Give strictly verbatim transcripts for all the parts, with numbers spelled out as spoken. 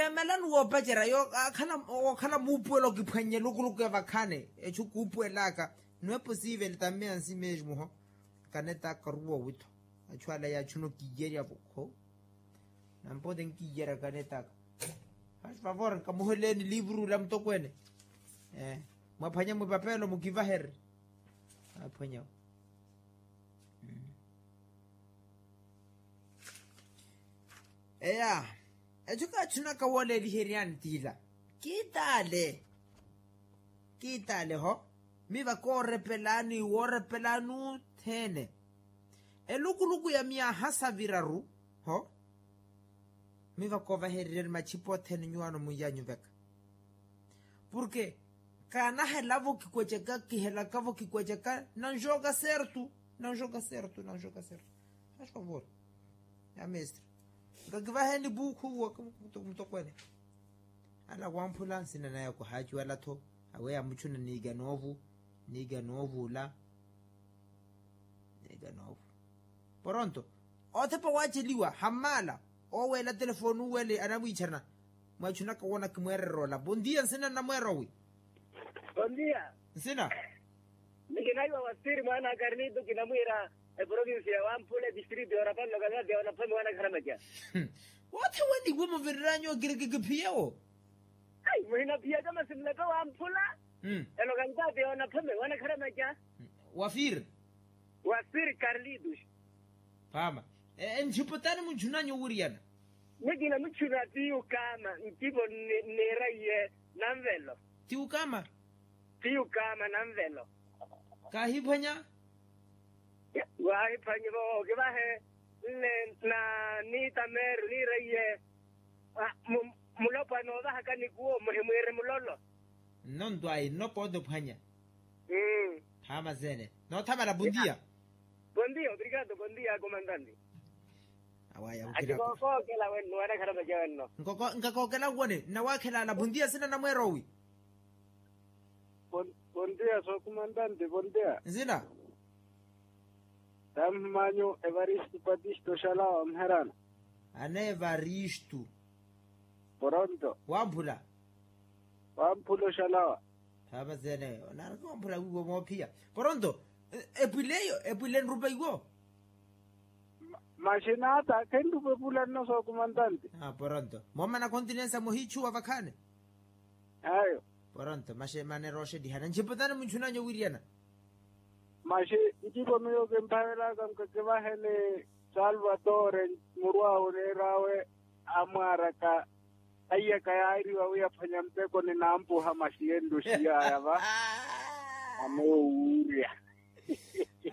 Emelani woopacerya yo, okhala muupuwela okiphwannye elukuluku ya vakhaani. Echu kuupuwel'aka, no eposiivele tammeya nsi mesmo ho. Kanet'aka oruwa owitho. Achu ala yaachuna okiiyerya-vo. Nampote nkiiyerya kanet'aka. Fasi favor nkamuheleeni livru la mutokweene. Mwaphwanya mwi papelo mukivaherye. Aphwanya. Eya. Echo kaachunaka wooleeliheryani t'ila. Kiitaale. Kiitaale ho. Miva koorepelani woorepelani othene. Elukuluku ya myaha saviraru ho. Miva koovahereryani machipa othene nyuwaano munyanyuveka. Porke kaanahelavo kikweceka kihelakavo kikweceka nanxooka sertu. Nanxooka sertu nanxooka sertu. Haxovori. Ya mestre. Nkakivaheni buukhu uwo. Mutokweene. Ala wamphula nsina naya kuhaaciwala-tho. Awe yamuchuna niika noovu. Niika noovu ola. Niika noovu. Poronto. Othepa waaceliwa hammaala. Ooweela telefoni uwele anamwiicharana. Mwachunaka woona kimweererya ola bondia nsina nnamweera owi. Bondia. Nsina. Nikinaiwa wasiri mwaana akarnitu kinamwiira. Eprovinsi ya wamphula etistritu yoorapani lokalidadi ya wanaphwami wanakharamaca. Woothe waniwo muviriranya okirikikiphiyewo. Ai muhinaphiyaka masi muleke wamphula. Elokalidadi ya wanaphwami wanakharamaca. Wafiri. Wafiri karlitus. Phaama. Enchiputani munchunanyu owiriyana. Nikina muchuna ti ukama ntivo. Niraiye nanvelo. Ti ukama. Ti ukama nanvelo. Kaahiphwanya. Waahiphwanyi vo okivahe. Nne na niitameru niiraiye. Mulopwana oovahaka nikuwo muhimwiiri mulolo. Nno ntwayi nno poote ophwanya. Phaama sene noothamala pontiya. Pontiya obrigado pontiya akomandante. Awaya. Ati kookookela wenno wanakhala maca wenno. Nkakookela nkuwone nnawaakhelala pontiya nsina namweera owi. Pontiya sookomandante pontiya. Nsina. Tammanyu evaristu patisto oxalawa omuherana. Ana evaristu. Poronto wamphula. Wamphula oxalawa. Thaapa sene onaraka wamphula wiiwo moophiya. Poronto. Epwile eyo epwile nrupa iwo. Maxinaata khenrupa epula nno sookomandante. Poronto moomana continensa muhiichuwa vakhaani. Ayo. Poronto maxemane rooxettihana nchiputani munchunanyu owiriyana. Maxi nkipo miyo kimphavelaka nkakivahele. Salvatore muru awe oneer'awe amwaaraka. Aiyaka yaariwa wi aphwanya mpeko ninampuha maxi yenruxiyaya va. Amoowuurya.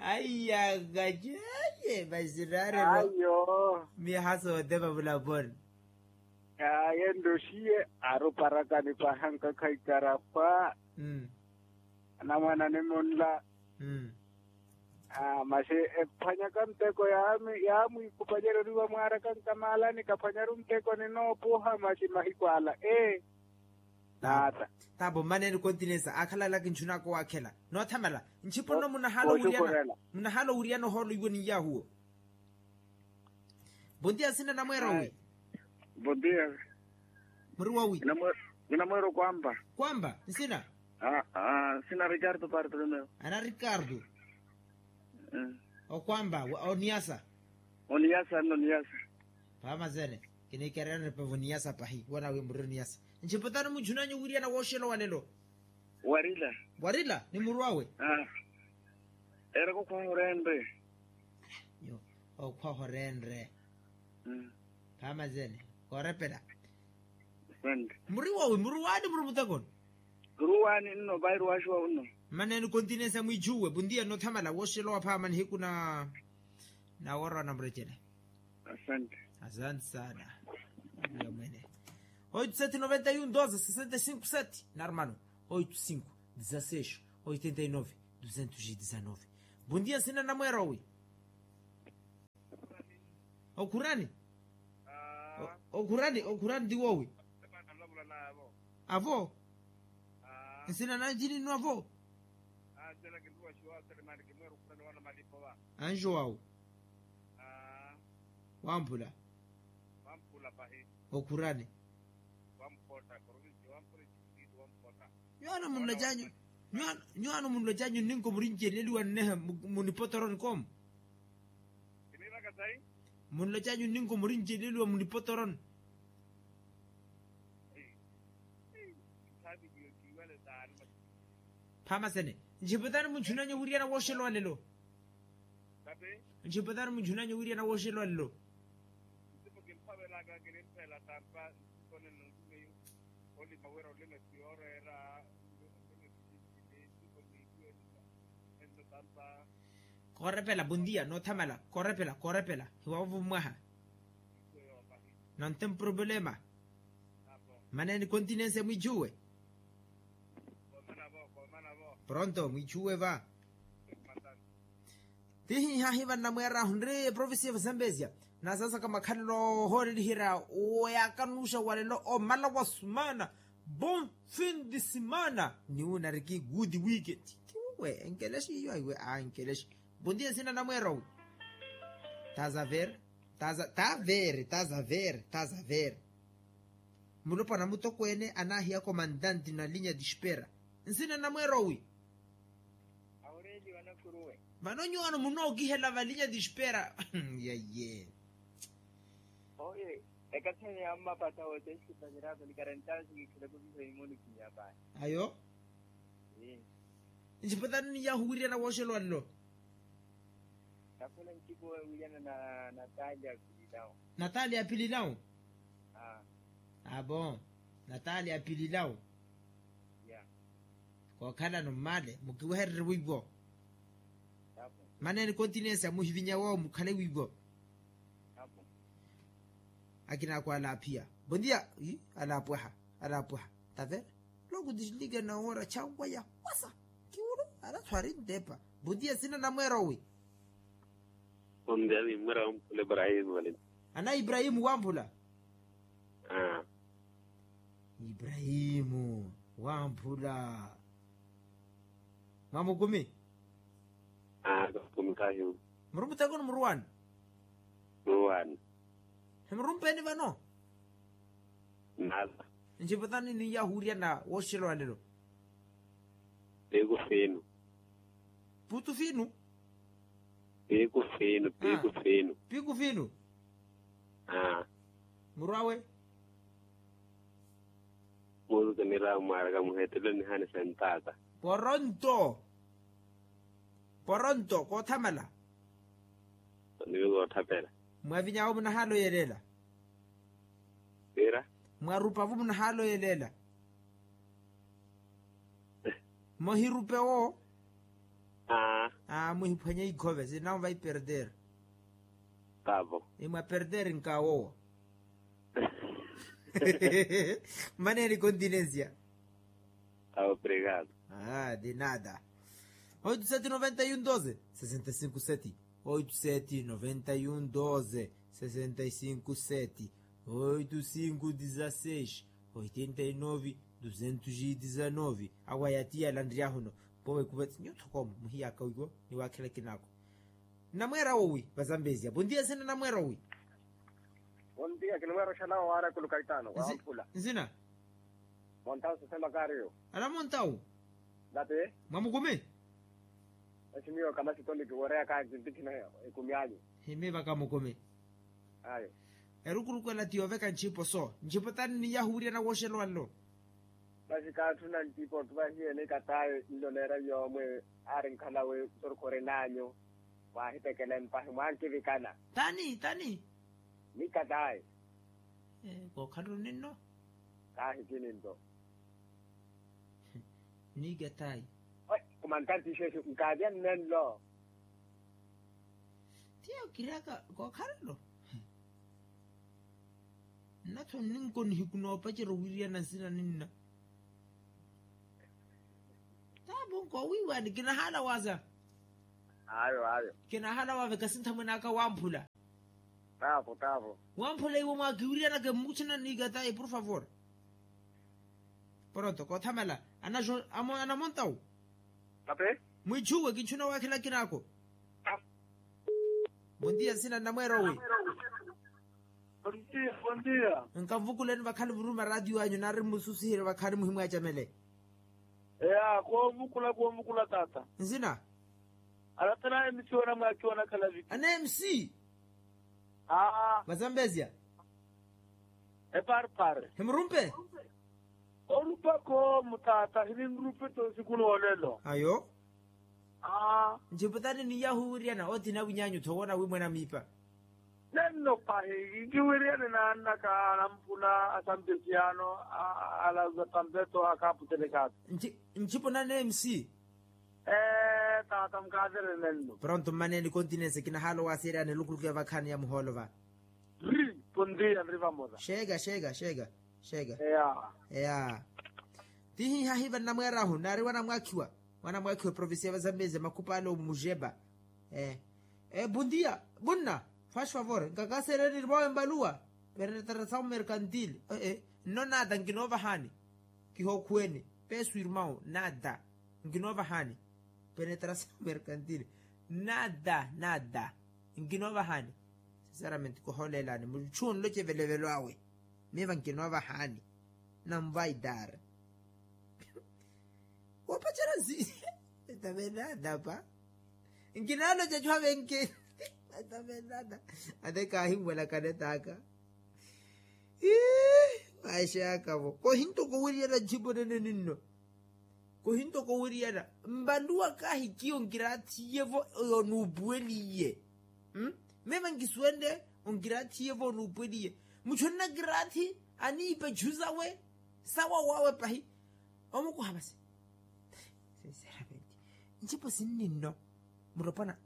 Aiyaka ceye maxi raarerwa. Ayo. Miyaha soote vavulaponi. Aye nroxiye aruparakani paha nkakhaikara pwa. Anamwana nimunla. Masi ephwanyaka nteko yaamwiikupanyerya oniwa mwaaraka nkamaalani kaphwanyaru nteko ninoopuha masi mahiku ala ee. Naata. Taapo mmaneeni continensa aakhalalaka nchunaka owaakhela. Noothamala nchipo nno munahaala owiriyana ohoolo iwo ninyaahuwo. Bondia nsina namweera owi? Bondia. Muri wowi? Kinamweera okwampa. Kwampa nsina? Nsina ricardo bartolomeo. Ana ricardo. Okwampa oniyasa? Oniyasa nno oniyasa. Pamazene. Kinikererani pa voniyasa pahi wanawe muri oniyasa. Nchiputani munchunanyu wiriana wooxela walelo. Warila. Warila ni muru awe. Eraka okhwaha orenre. Okhwaha orenre. Phamazene. Koorepela. Muri wawi muri waani muri mutekoni? Muri waani nno vayi ruwaxiwa unno. Mmaneeni continensa mwiichuwe puntiya nothamala wooxelowa phaama nihiku na nawoora wa namurecele. Asante. Asante sana. Mwene. Oito sete noventa e um doze sessenta e cinco sete na hermano. Oito cinco dezasseis oitenta e nove duzentos e dezanove. Puntiya nsina namweera owi? Okhurani. Okhurani okhurani ti woowi? Avo. Nsina nanji ninnu avo? Anjo wawu. Wamphula. Okhurani. Nyuwaano munlocanyu nyuwaano munlocanyu nninko murinceleliwa nnehe munipotoroni koomu. Munlocanyu nninko murinceleliwa munipotoroni. Phamasene. Ntxiputani munchunanyu wiriana wooxelowa lelo. Ntxiputani munchunanyu wiriana wooxelowa lelo. Koorepela bondia noothamala koorepela koorepela hiwavovo mwaha. Nonte mproblema. Maneni continencia mwichuwe. Pronto mwichuwe va. Tihihahi vannamweera hunri provincia vasambezia. Nasasaka makhalelo ohooreliherya. Oyakanuxa walelo omala wa sumana. Bon fin de semana. Niwunariki good weekend. Tiwe enkelexe iyo aiwe a enkelexe. Bon dia nsina namweera owi. Taza ver. Taza taver taza ver taza ver. Mulopwana mutokweene anaahiya komandante na linya dispera. Nsina namweera owi. Aurelio anakuruwe. Vano nyuwaano munookihela valinya dispera. Yaye. Oye. Ekathani ya mmapatha wote esipanyeraka nikarentasi kikhileko viha imoni kinyapaya. Ayo. Ntxipatani niyahu wiriana wooxelowa lelo. Nakhwela ntxipo wiriana na natalia apililawo. Natalia apililawo. Abo. Natalia apililawo. Kookhalano mmale mukiwehererye wiivo. Maneni continencia muhivinya woowo mukhale wiivo. Akinaako alaaphiya. Bon dia. Alaapwaha. Alaapwaha. Tavera. Loku dislike na wora chanwa ya wasa. Kiwulu. Arathu arintepa. Bon dia nsina namweera owi. Bon dia ni mmwera wamphula ibrahimu valeni. Ana ibrahimu wamphula. Ibrahimu wamphula. Mwamukumi. Murumuteko ni muruwani. Muruwani. Himurumpeni vano. Nala. Ntxiputani niyahu wiriana wooxelowa lelo. Piku finu. Putu finu. Piku finu piku finu. Piku finu. Muru awe. Murutu niramu mwaraka muhetelo nihani sentaka. Poronto. Poronto koothamala. Nivi koothapela. Mwavinyavo munahaala oyeleela. Ira. Mwarupa vu munahaala oyeleela. Mohirupe wo. Aa muhiphwanye ikhove sinawo vaiperdere. Tavo. Imwaperder nkawowa. Maneni continencia. Tavo obrigado. Ah de nada. Oito sete noventa e um doze sessenta e cinco sete. Oito sete noventa e um doze sessenta e cinco sete. Oito cinco dezasseis oitenta e nove duzentos e dezanove. Awa yatiya lanryahuno. Powe kuva nyutho komo muhiyaka wiwo. Niwakhela kinako. Namweera wowi vazambezia bon dia nsina namweera wowi. Bon dia kinamweera oxalawa waara kuluka itano wamphula. Nsina. Montawu sisema kariyo. Ala montawu. Nate. Mwamukumi. Esimiyo kamasitoni kiworeya kakintikhina. Ekumi anyu. Himi vakamukumi. Ayo. Erukuruku ela ti yooveka ntxipo so ntxipo tani niyahu wiriana wooxelowa nlo. Masi kaatthuna nttipo ottuvahiyeni katayi nlo neera yoomwe. Aari nkhala wi sorukhu ori naanyu. Mwaahitekela empahi mwankivikana. Tani tani. Ni katayi. Kookhalelo ninno. Kaahikini nto. Ni katayi. Kumantantixexu nkaavya nnenlo. Tiyo kiraka kookhalelo. Nnatho nninko nihiku noopacerya owiriyana nsina ninna. Taavo nkoowiiwani kinahaala waaza. Ayo ayo. Kinahaala waaveka sinthamwene aka wamphula. Taavo taavo. Wamphula iwe mwaakiwiriyanaka emuchina ni katayi por favor. Pronto koothamala. Anamontawu. Mwichuwe kinchuna waakhela kinaako. Bon dia nsina nnamweera owi. Bon dia bon dia. Nkamvukuleni vakhali vuruma ratio anyu nari mmususiherye vakhali muhimwaacamele. Eya koomukula koomukula taata. Nsina. Alatana mc wanamwakhi wanakhala viki. Ana mc. Aa. Vazambezia. Eparpare himurumpe. Orupako mutaata hininrupete osiku noolelo. Ayo. Aa. Nciputani niyahuwiriyana othina winyanyu tho woona wimwena miipa. Nenno pahi nkiwiriyane naannaka anamphuna asampesiano. Alaza tampeto akaaputelekaka. Ncipo nane mc. Ee taata mukaatere nenno. Pronto mmaneeni continence kinahaala owaseeryani elukuluku ya vakhaani ya muhoolo va. Ri. Pondia nri vamosa. Xeeka xeeka xeeka. Xeeka. Eya. Eya. Tihihahiva nnamweerahu naari wanamwaakhiwa. Wanamwaakhiwa eprovincia ya vazambezia makhupaale omujeba. Ee. Pondia. Vunna. Faz favor nkakaseereni vawe mbaluwa. Peretrasawu mercantil. Ee. Nno nata nkinoovahani. Kihookhuweni. Pesu irmão nata. Nkinoovahani. Penetrasawu mercantil. Nata nata. Nkinoovahani. Sinceramente kohoolelani muchu onloce evelevelo awe. Miiva nkinoovahani. Nanvaidar. Woopacerya nsi. Etavenadapa. Nkinaaloca cuhavenke. Etavenada. Ate kaahinwelakana etaaka. Ii. Maisha yaka vo kohintoka owiriyana ncipo nene ninno. Kohintoka owiriyana. Mbaluwa kaahikiya onkiraathiye vo. Onuupuweliye. Meme nkisuwenle. Onkiraathiye vo onuupuweliye. Muchu onnakiraathi aniipa echu sawe. Sawa wawe pahi. Omukuha masi. Sinceramente. Ncipo sinninno. Muropwana.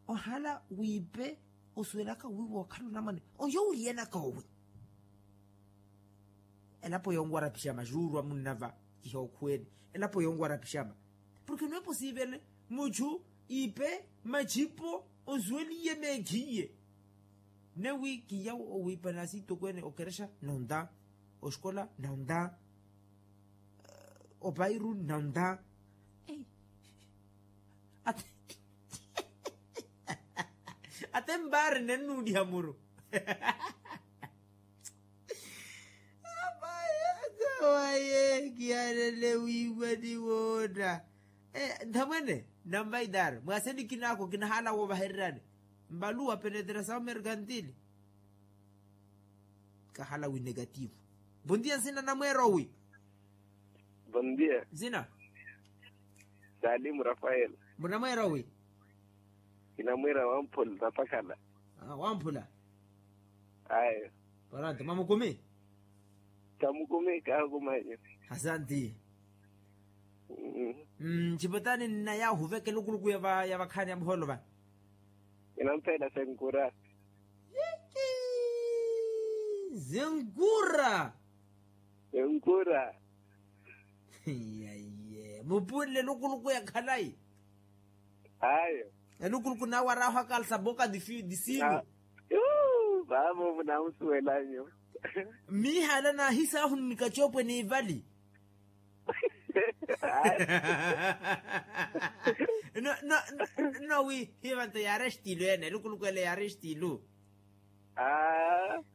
Ohala wiipe. Osuwelaka wiiwa okhala onamwane. Oyo wiriyanaka owi. Elapo yonwara pixama juurwa munnava. Kihookhuweni. Elapo yonwara pixama. Porke nwepo siivene. Muchu ipe machipo onsuweliye meekhiye. Newi kiyawo owiipa naasi itokweene okerexa nonta. Oxikola nonta. Opairu nonta. Ate mbaari nennuuliha muru. Apayaaka waye kihanene wiiwani woona. Nthamwene. Namvaidar mwaasenikinaako kinahaala woovahererani. Mbaluwa penetrasawu mercantil. Kahala wi negativo. Bondia nsina namweera owi. Bondia. Nsina. Salimu rafael. Munamweera owi. Kinamweera wamphula napakhala. Wamphula. Ayo. Paranto mamukumi. Kamukumi kahukumanyo. Asanti. Ncipotani nna yaahuveka elukuluku ya vakhaani ya muhoolo vano. Kinampeela senkura. Zenkura. Zenkura. Yaiye mupulle elukuluku ya khalayi. Ayo. Elukuluku nawe araho akalsa boka disinu. Vavo munamusuwelanyo. Miihala nahisahu nnikacopwe niivali. No no no wi hivanto yaari estilu ene elukuluku ele yaari estilu.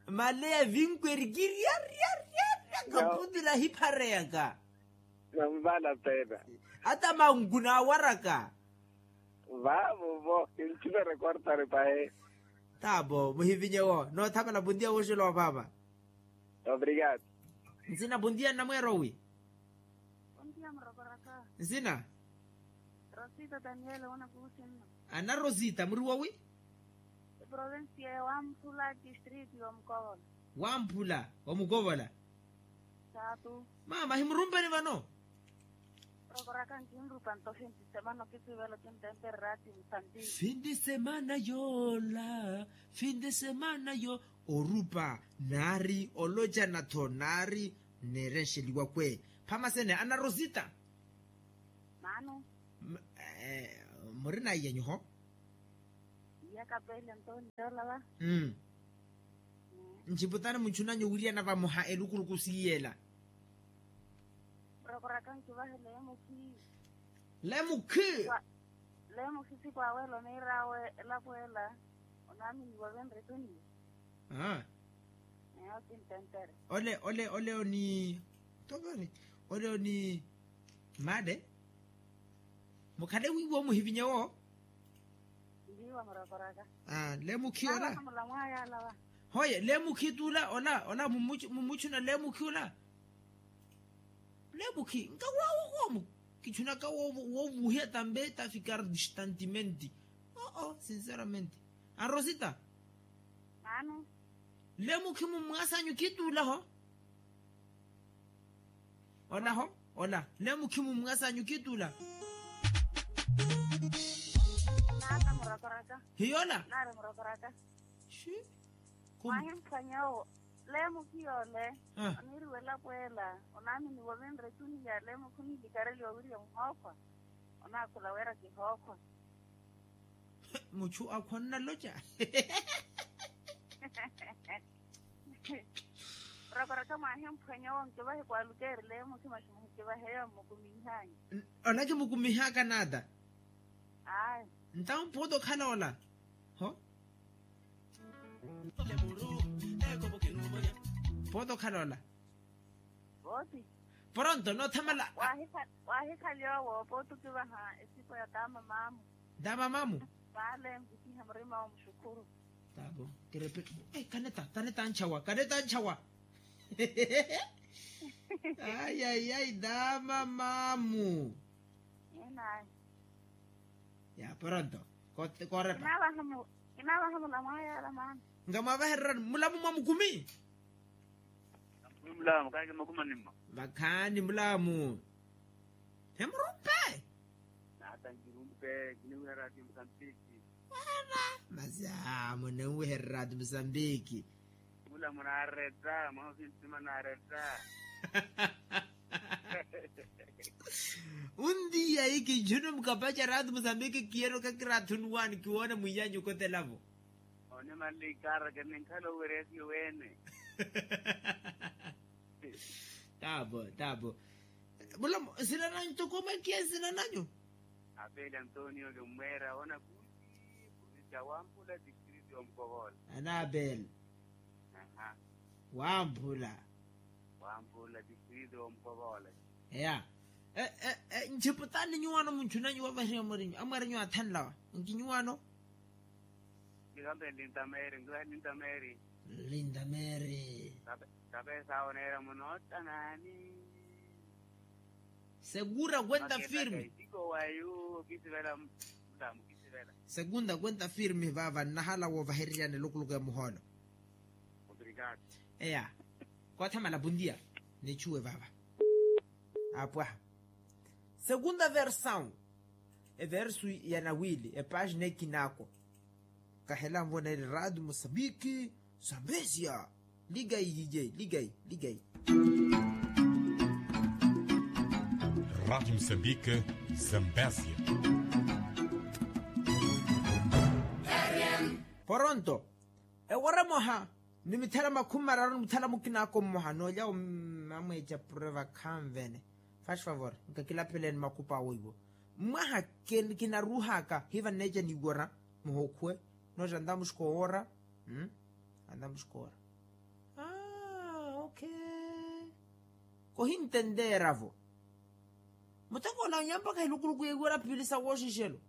Maleya vinkweri kiriariariaria kaputula hiphareyaka. Namvala pena. Ata manku naawaraka. Vavo vo kinchimere kortari pahe. Tavo muhivinye wo noothamala puntia woxela wa vava. Obrigado. Nsina puntia nnamweera owi. Nsina. Rosita daniel wona kuusinno. Ana rosita muri wowi. Provincia ya wamphula district yomukovola. Wamphula omukovola. Saatu. Mama himurumpani vano. Rokoraka nkinrupa nto findisemana okisivela kintemperera ati mpanti. Findisemana yoola. Findisemana yo orupa naari olocana tho naari. Nneerenxeliwa kwe. Phamasene ana rosita. Mano. Muri naiya nyuho. Iya kapele ntoni yoola va. Nciputani munchunanyu wiriyana vamoha elukuluku siiyela. Rokoraka nkivahele emukhi. Lemukhi. Lemukhi sikwawe elomeerawe elapo ela. Onaaminiwa venretuniye. Aa. Neyo kintentere. Ole ole ole oni. Tokani. Ole oni. Maade. Mukhale wiiwo muhivinye wo. Ndiiwa murokoraka. Aa lemukhi ola. Hoye lemukhi tuula ola ola mumuchuna lemukhi ola. Lemukhi nkawawo koomu. Kichunaka wovuhiya tambe tafikar distantimenti. Oo sinseramenti. Anrosita. Lemukhi mumwasanyu khituula ho. Ola ho ola lemukhi mumwasanyu khituula. Hiyo ola. Mwahimpwanyawo. Lemukhi yoole. Oniiriwela pweela. Onaaminiwa vinre tuniya lemukhi oniilikareliwa wiriya muhookhwa. Onaakhula wira kihookhwa. Muchu akhwa onnaloca. Rokoroko mwahimphwenya owo nkivahe kwalukeerile mukhima ximuhikivaheya mmukumihanyu. Ola kimukumihaka naata. Ayi. Ntawo mpuuta okhala ola. Ho. Mpuuta okhala ola. Pronto noothamala. Waahikhali owo pootukivaha esipo ya taamamaamu. Taamamaamu. Vaale nvutihe murima wa muxukhuru. Taavo. Kaneta kaneta anchawa kaneta anchawa. Ayayay taamamaamu. Inayi. Ya pronto. Koorepa. Kinavaha mulamu ayala maana. Nkamwavahererani mulamu mwa mukumi. Mulamu kaaki makumi animma. Vakhaani mulamu. Hemurumpe. Naata nkirumpe kiniwiha raati musambiki. Masi aa munenwiherya raati musambiki. Mulamu naaretta mwaha osintima naaretta. Untiya iki nchuno mukapaca raati musambiki kiyero kakiraathunuwaani kiwoona mwiyanyu okotelavo. Onimanle ikara kininkhala owereya siyo weene. Taabo taabo. Mulamu nsina nanyu toko mwakiya nsina nanyu. Apeli antonio kimmweera oona kuuti puruvisi ya wampula distrito ya omukokoola. Ana apeli. Wamphula. Wamphula distrito ya omukokoola. Eya. Nchiputani nyuwano munchunanyu wavahiwa mwarinyu amwarinyu athanlawa nkinyuwano. Nkikampe lintameri nkivahe lintameri. Lintameri. Kapesa awo neera munoottanani. Segura kwenta firme. Segunda kwenta firme vava nnahala woovahereryani elukuluku ya muhoolo. Eya. Koothamala pundiya. Nichuwe vava. Apwaha. Segunda versaw. Eversu ya nawili epagina ekinako. Kahela nvona eri ratu musambiki. Sambesia. Ligai hije ligai ligai. Ratu musambiki. Sambesia. Poronto. Ewara emoha ni mithala makhumi mararu ni muthala mukinako mmoha noolya amweeca pureva khanvene. Faz favor nkakilapeleni makupa awo iwo. Mwaha kinaruuhaka hiva nneeca niwora muhookhuwe. Nooca ntamuxuka owoora. Ntamuxuka owoora. Aa ok. Kohintenteera vo. Muteko ola onyampaka hilukuluku yeiwera piili sa wooxixelo.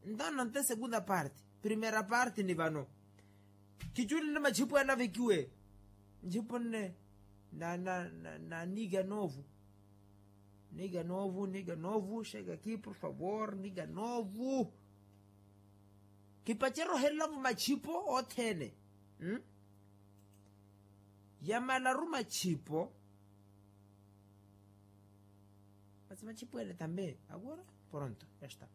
Ntawo nante segunda parte. Primeira parte ni vano. Kichulile machipo yale avekiwe. Nchipo nne. Na na na na niga novu. Niga novu niga novu xeka ki por favor niga novu. Kipacere ohelelavu machipo othene. Yamalaru machipo. Masi machipo ele tambe agora. Pronto ya esta.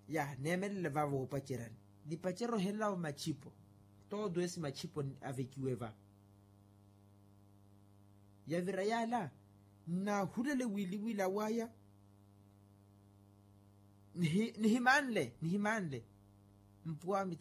Ya neemelele vavo opacerani. Nipacere ohelelavu machipo. Todo esi machipo avekiwe va. Yavira yala nahulele wiliwili awaya. Nihimanle nihimanle. Mpuwa